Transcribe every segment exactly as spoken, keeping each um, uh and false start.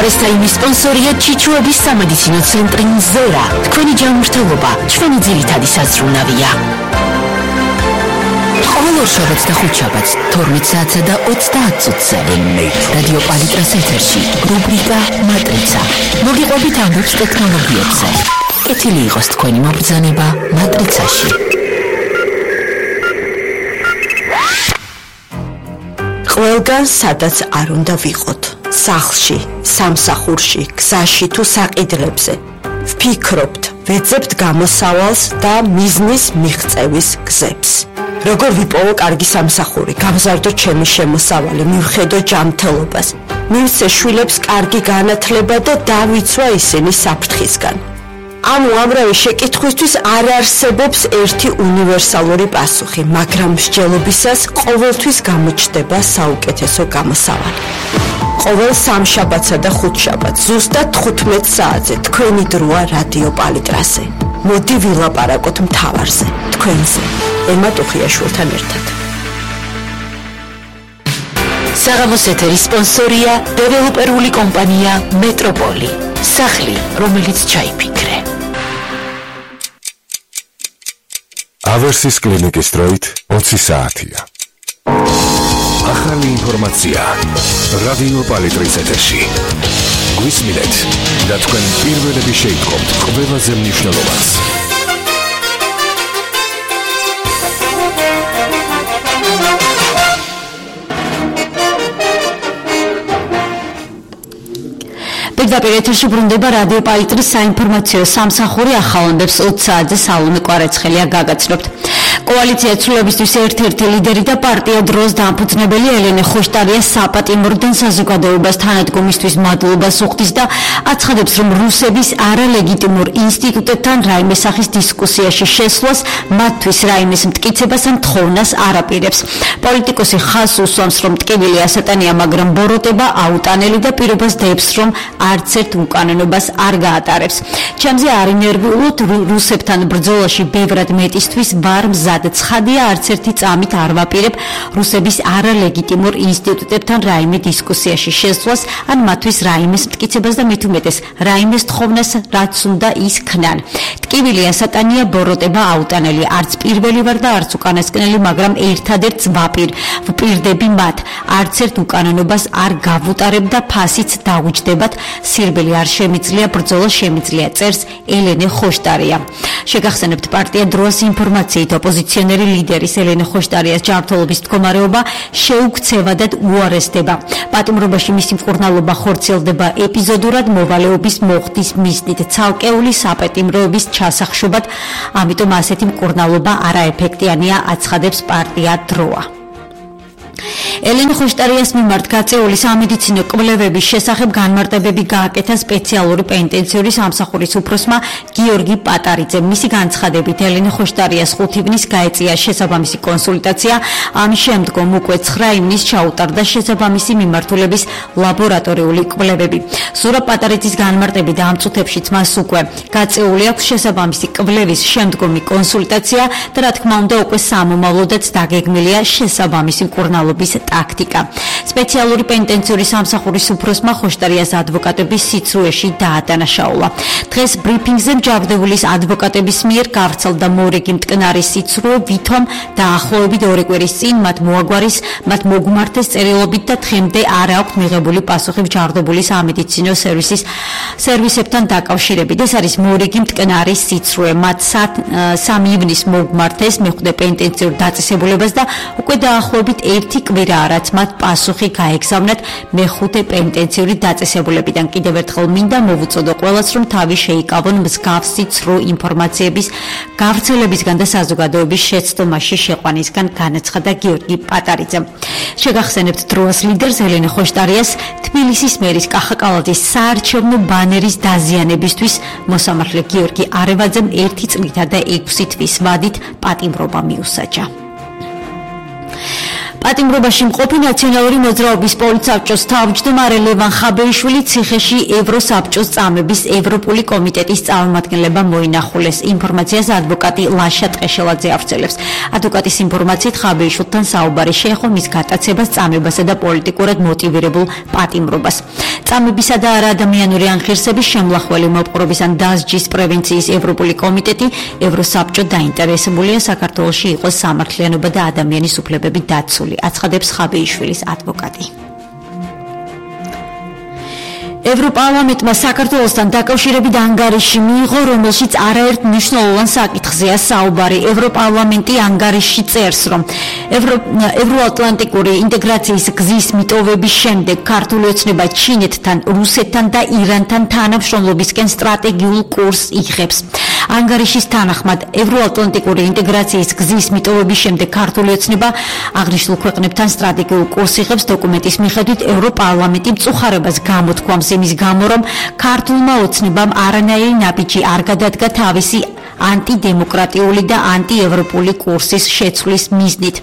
დღესდღეობით სპონსორია ჩიჩუების სამედიცინო ცენტრი ზერა. თქვენი ჯანმრთელობა ჩვენი ძირითადი საზრუნავია. ყოველ შაბათს და ხუთშაბათს თორმეტ საათსა და ოცდაათ წუთზე რადიო პალიტრას ეთერში რუბრიკა მატრიცა. მოგიყვებით ამბობს ტექნოლოგიებზე. კეთილი იყოს თქვენი მობრძანება მატრიცაში. ყველგან სადაც არ უნდა ვიყოთ, სახლში, სამსახურში, გზაში თუ საყიდლებზე. ვფიქრობთ, ვეძებთ გამოსავალს და მიზნის მიღწევის გზებს. როგორ ვიპოვო კარგი სამსახური, გავზარდო ჩემი შემოსავალი, მივხედო ჯანმრთელობას, მივცე შვილებს კარგი განათლება და დავიცვა ისინი საფრთხისგან. ამ უამრავი შეკითხვისთვის არ არსებობს ერთი უნივერსალური პასუხი, მაგრამ მსჯელობისას ყოველთვის გამოჩნდება საუკეთესო გამოსავალი. ყოველ სამშაბათსა და ხუთშაბათს ზუსტად თხუთმეტ საათზე თქვენი დროა რადიო პალიტრაზე. მოდი ვილაპარაკოთ მთავარზე, თქვენზე, ემა ტუხიაშვილთან ერთად. საღამოს ეთერის სპონსორია დეველოპერული კომპანია მეტროპოლი. სახლი, რომელიც ჩაიფიქრე. ავერსის კლინიკის დროით ოცი საათია. ახალი ინფორმაცია რადიო პალიტრის ეთერში. გვისმინეთ და თქვენ პირველები შეიტყობთ ყველაზე მნიშვნელოვანს. პირდაპირ ეთერში ბრუნდება რადიო პალიტრის საინფორმაციო სამსახური ახალონდებს ოცი საათზე სალომე კვარაცხელია გაგაცნობთ. კოალიცია ცვლილებისთვის ერთ-ერთი ლიდერი და პარტია დროს დამფუძნებელი ელენე ხოშტარია საპატიმროდან საზოგადოებას თანადგომისთვის მადლობას უხდის და აცხადებს, რომ რუსების არალეგიტიმურ ინსტიტუტებთან რაიმე სახის დისკუსიაში შესვლას მათთვის რაიმეს მტკიცებას ან თხოვნას არ აპირებს. პოლიტიკოსი ხაზს უსვამს, რომ ტკივილი ასატანია, მაგრამ ბოროტება აუტანელი და პირობას დებს, რომ არც ერთ უკანონობას არ გაატარებს. ჩემზე არ ინერვიულოთ, რუსებთან ბრძოლაში ბევრად მეტისთვის ვარ მზად. ცხადია, არც ერთი წამით არ ვაპირებ რუსების არალეგიტიმურ ინსტიტუტებთან რაიმე დისკუსიაში შესვლას ან მათთვის რაიმეს მტკიცებას და მით უმეტეს რაიმეს თხოვნას, რაც უნდა ის ქნან. ტკივილი ასატანია, ბოროტება აუტანელი. არც პირველი ვარ და არც უკანასკნელი, მაგრამ ერთადერთს ვაპირ, ვპირდები მათ. არც ერთ უკანონობას არ გავუტარებ და ფასიც დაუჯდებათ. სირბილი არ შემიძლია, ბრძოლა შემიძლია, წერს ელენე ხოშტარია. შეგახსენებთ პარტია დროას ინფორმაციით ოპოზიციონერი ლიდერის ელენე ხოშტარიას ჯანმრთელობის მდგომარეობა შეუქცევადად უარესდება. პატიმრობაში მისი მკურნალობა ხორციელდება ეპიზოდურად მოვალეობის მოხდის მიზნით, ცალკეული საპატიმროების ჩასახშობად, ამიტომ ასეთი მკურნალობა არაეფექტიანია, აცხადებს პარტია დროა. ელენე ხოშტარიას მიმართ გაწეული სამედიცინო კვლევების შესახებ განმარტებები გააკეთა სპეციალური პენიტენციური სამსახურის უფროსმა გიორგი პატარიძემ. მისი განცხადებით, ელენე ხოშტარიას ხუთი ივნის გაეწია შესაბამისი კონსულტაცია, ამის შემდგომ უკვე ცხრა ივნის ჩაუტარდა შესაბამისი მიმართულების ლაბორატორიული კვლევები. ზურაბ პატარიძის განმარტებით, ამ წუთებშიც მას უკვე გაწეული აქვს შესაბამისი კვლევის შემდგომი კონსულტაცია და რა თქმა უნდა უკვე სამომავლოდაც დაგეგმილია შესაბამისი მკურნალობის ტაქტიკა. სპეციალური პენიტენციური სამსახურის უფროსმა ხოშტარიას ადვოკატების სიცრუეში დაადანაშაულა. დღეს ბრიფინგზე მჯავრდებულის ადვოკატების მიერ გავრცელდა მორიგი მტკნარი სიცრუე, ვითომ დაახლოებით ორი კვირის წინ მათ მოაგვარის, მათ მოგმართეს წერილობით და დღემდე არ აქვთ მიღებული პასუხი მჯავრდებულის სამედიცინო სერვისის სერვისებთან დაკავშირებით. ეს არის მორიგი მტკნარი სიცრუე. მათ სამი ივნის მოგმართეს მეხუთე პენიტენციურ დაწესებულებას და უკვე დაახლოებით ერთი კვირა რაც მათ პასუხი გაეგზავნათ მეხუთე პენიტენციური დაწესებულებიდან. კიდევ ერთხელ მინდა მოვუწოდო ყველას, რომ თავი შეიკავონ მსგავსი ცრუ ინფორმაციების გავრცელებისგან და საზოგადოების შეცდომაში შეყვანისგან, განაცხადა გიორგი პატარიძემ. შეგახსენებთ დროას ლიდერს ელენე ხოშტარიას თბილისის მერის კახაკალაძის საარჩევნო ბანერის დაზიანებისთვის მოსამართლე გიორგი არევაძემ ერთი წლითა და ექვსი თვის ვადით პატიმრობა მიუსაჯა. პატიმრობაში მყოფი ნაციონალური მოძრაობის პოლიცსაბჭოს თავმჯდომარე ლევან ხაბეიშვილი ციხეში ევროსაბჭოს წამების ევროპული კომიტეტის წარმომადგენლებმა მოინახულეს. ინფორმაციას ადვოკატი ლაშა ტყეშელაძე ავრცელებს. ადვოკატის ინფორმაციით ხაბეიშვილთან საუბარი შეეხო მის გატაცებას, წამებასა და პოლიტიკურად მოტივირებულ პატიმრობას. წამებისა და არაადამიანური ანხირსების შემლახველი მოპყრობის ან დასჯის პრევენციის ევროპული კომიტეტი ევროსაბჭო დაინტერესებულია საქართველოში იყოს სამართლიანობა და ადამიანის უფლებები დაცული, აცხადებს ხაბეიშვილის ადვოკატი. ევროპარლამენტმა საქართველოსთან დაკავშირებით ანგარიში მიიღო, რომელშიც არაერთ მნიშვნელოვან საკითხზეა საუბარი. ევროპარლამენტი ანგარიში წერს, რომ ევროატლანტიკური ინტეგრაციის გზის მიტოვების შემდეგ ქართული ოცნება ჩინეთთან, რუსეთთან და ირანთან თანამშრომლობისკენ სტრატეგიულ კურსს იღებს. ანგარიშის თანახმად, ევროატლანტიკური ინტეგრაციის გზის მიტოვების შემდეგ ქართული ოცნება აღნიშნულ ქვეყნებთან სტრატეგიულ კურსს იღებს. დოკუმენტის მიხედვით ევროპარლამენტი მწუხარებას გამოთქვამს იმის გამო, რომ ქართულმა ოცნებამ არანაირი ნაბიჯი არ გადადგა თავისი ანტიდემოკრატიული და ანტიევროპული კურსის შეცვლის მიზნით.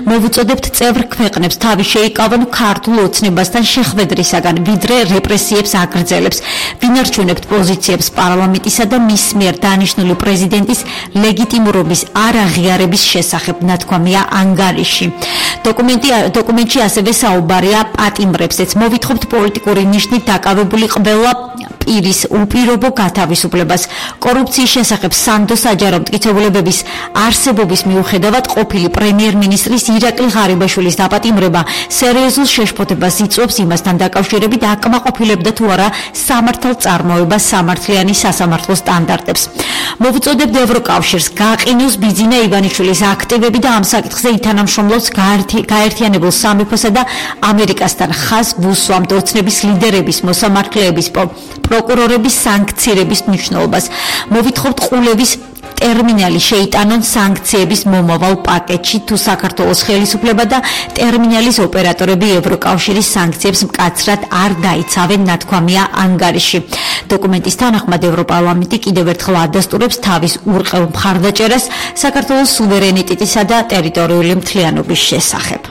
მოვუწოდებთ წევრ ქვეყნებს თავი შეიკავონ ქართულ ოცნებასთან შეხვედრისაგან, ვიდრე რეპრესიებს აგრძელებს. ვინარჩუნებთ პოზიციებს პარლამენტისა და მის მიერ დანიშნული პრეზიდენტის ლეგიტიმურობის არაღიარების შესახებ, ნათქვამია ანგარიში. დოკუმენტი დოკუმენტში ასევე საუბარია პატიმრებზეც. მოვითხოვთ პოლიტიკური ნიშნით დაკავებული ყველა პირის უპირობო გათავისუფლებას. კორუფციის შესახებ სანდო საჯარო მტკიცებულებების არსებობის მიუხედავად ყოფილი პრემიერ-მინისტრის ირაკლი ღარიბაშვილის დაპატიმრება სერიოზულ შეშფოთებას იწვევს იმასთან დაკავშირებით აკმაყოფილებდა თუ არა სამართალწარმოება სამართლიანი სასამართლო სტანდარტებს. მოვუწოდებთ ევროკავშირს გააყინოს ბიძინა ივანიშვილის აქტივები და ამ საკითხზე ითანამშრომლობს გაერთიანებულ სამეფოსა და ამერიკასთან. ხაზს ვუსვამთ ოცნების ლიდერების, მოსამართლეების, პროკურორების სანქცირების მნიშვნელობას. მოვითხოვთ ყულევის ტერმინალი შეიტანონ სანქციების მომავალ პაკეტში, თუ საქართველოს ხელისუფლება და ტერმინალის ოპერატორები ევროკავშირის სანქციებს მკაცრად არ დაიცავენ, ნათქვამია ანგარიში. დოკუმენტის თანახმად ევროპარლამენტი კიდევ ერთხელ ადასტურებს თავის ურყევ მხარდაჭერას საქართველოს სუვერენიტეტისა და ტერიტორიული მთლიანობის შესახებ.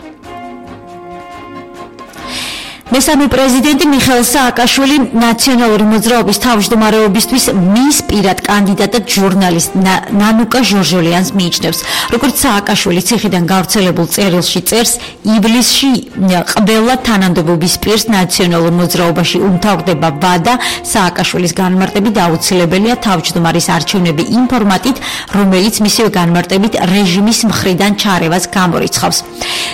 მესამე პრეზიდენტი მიხეილ სააკაშვილი ნაციონალური მოძრაობის თავმჯდომარეობისთვის მის პირად კანდიდატად ჟურნალისტ ნანუკა ჟორჟოლიანს მიიჩნევს. როგორც სააკაშვილი ციხიდან გავრცელებულ წერილში წერს, ივლისში ყველა თანამდებობის პირს ნაციონალურ მოძრაობაში უმთავრდება ვადა სააკაშვილის განმარტებით აუცილებელია თავმჯდომარის არჩევნები იმ ფორმატით, რომელიც მისივე განმარტებით რეჟიმის მხრიდან ჩარევას გამორიცხავს.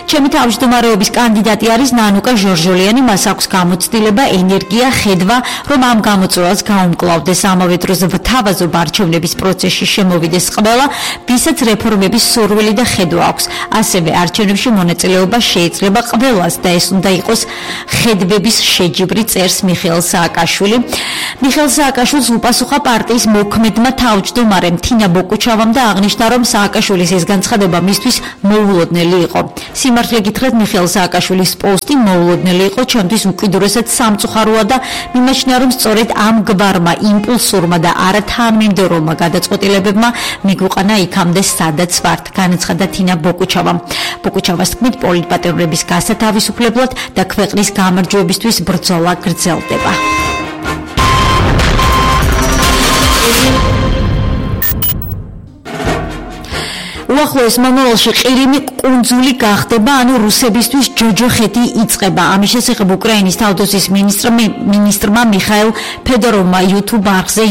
ჩემი თავმჯდომარეობის კანდიდატი არის ნანუკა ჟორჟოლიანი. მას აქვს გამოცდილება, ენერგია, ხედვა, რომ ამ გამოწვევას გაუმკლავდეს. ამავე დროს თავაზობ არჩევნების პროცესში შემოვიდეს ყველა, ვისაც რეფორმების სურვილი და ხედვა აქვს. ასევე არჩევნებში მონაწილეობა შეიძლება ყველას და ეს უნდა იყოს ხედვების შეჯიბრი, წერს მიხეილ სააკაშვილი. მიხეილ სააკაშვილს უპასუხა პარტიის მოქმედმა თავმჯდომარემ თინა ბოკუჩავამ და აღნიშნა, რომ სააკაშვილის ეს განცხადება მისთვის მოულოდნელი იყო. სიმართლე გითხრათ, მიხეილ სააკაშვილის პოსტი მოულოდნელი იყო. ჩემთვის უკიდურესად სამწუხაროა და მიმაჩნია, რომ სწორედ ამ გვარმა იმპულსურმა და არათანმიმდევრომა გადაწყვეტილებებმა მიგვიყვანა იქამდე, სადაც ვართ, განაცხადა თინა ბოკუჩავამ. ბოკუჩავას თქმით, პოლიტპატიმრების გასათავისუფლებლად და ქვეყნის გამარჯვებისთვის ბრძოლა გრძელდება. უახლოეს მომავალში ყირიმი კუნძული გახდება, ანუ რუსებისთვის ჯოჯოხეთი იწყება. ამის შესახებ უკრაინის თავდაცვის მინისტრმა მიხაილ ფედოროვმა YouTube არხზე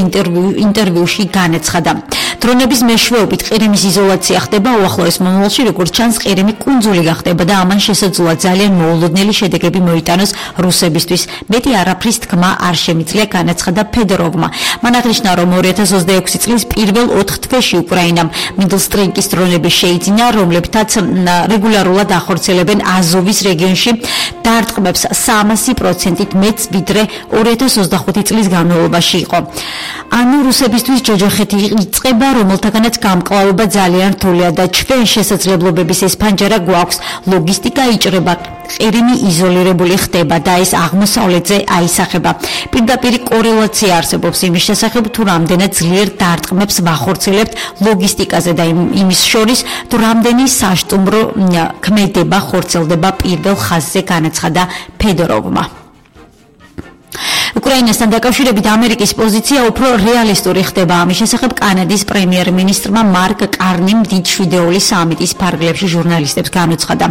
ინტერვიუში განაცხადა. დრონების მეშვეობით ყირიმის იზოლაცია ხდება უახლოეს მომავალში, როგორც ჩანს, ყირიმი კუნძული გახდება და ამან შესაძლოა ძალიან მოულოდნელი შედეგები მოიტანოს რუსებისთვის. მეტი არაფრის თქმა არ შემიძლია, განაცხადა ფედოროვმა. მან აღნიშნა, რომ ორი ათას ოცდაექვსი წლის პირველ ოთხ თვეში უკრაინამ მიდლსტრინკის დრონები შეიძინა, რომლებთაც რეგულარულად ახორციელებენ აზოვის რეგიონში დარტყმებს სამასი პროცენტით მეც, ვიდრე ორი ათას ოცდახუთი წლის განმავლობაში იყო. ანუ რუსებისთვის ჯოჯოხეთი იწყება, რომელთაგანაც გამკლავება ძალიან რთულია და ჩვენ შესაძლებლობების ეს ფანჯარა გვაქვს. ლოგისტიკა იჭრება, ყირიმი იზოლირებული ხდება და ეს აღმოსავლეთზე აისახება. პირდაპირ კორელაცია არსებობს იმის შესახებ, თუ რამდენად ძლიერ დარტყმებს ვახორციელებთ ლოგისტიკაზე და იმის შორის, თუ რამდენი საშტუმრო ქმედება ხორციელდება პირველ ხაზზე, განაცხადა ფედოროვმა. უკრაინასთან დაკავშირებით ამერიკის პოზიცია უფრო რეალისტური ხდება. ამის შესახებ კანადის პრემიერ-მინისტრმა მარკ კარნიმ დიდ შვიდეულის სამიტის ფარგლებში ჟურნალისტებს განუცხადა.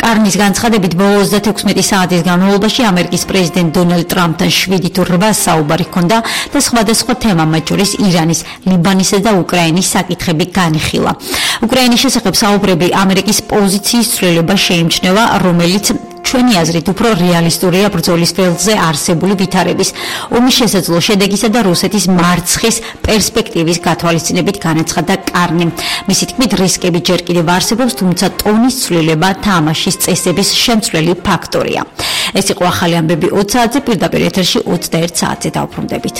კარნის განცხადებით ბოლო ოცდათექვსმეტი საათის განმავლობაში ამერიკის პრეზიდენტ დონალდ ტრამპთან შვიდი თუ რვა საუბარი ჰქონდა და სხვადასხვა თემა, მათ შორის ირანის, ლიბანისა და უკრაინის საკითხები განიხილა. უკრაინის შესახებ საუბრები ამერიკის პოზიციის ცვლილება შეიმჩნევა, რომელიც ჩვენი აზრით უფრო რეალისტურია ბრძოლის ველზე არსებული ვითარების, ომის შესაძლო შედეგისა და რუსეთის მარცხის პერსპექტივის გათვალისწინებით განაცხადა კარნიმ. მისი თქმით, რისკები ჯერ კიდევ არსებობს, თუმცა ტონის ცვლილება თამაშის წესების შემცვლელი ფაქტორია. ეს იყო ახალი ამბები ოც საათზე, პირდაპირ ეთერში ოცდაერთ საათზე დავბრუნდებით.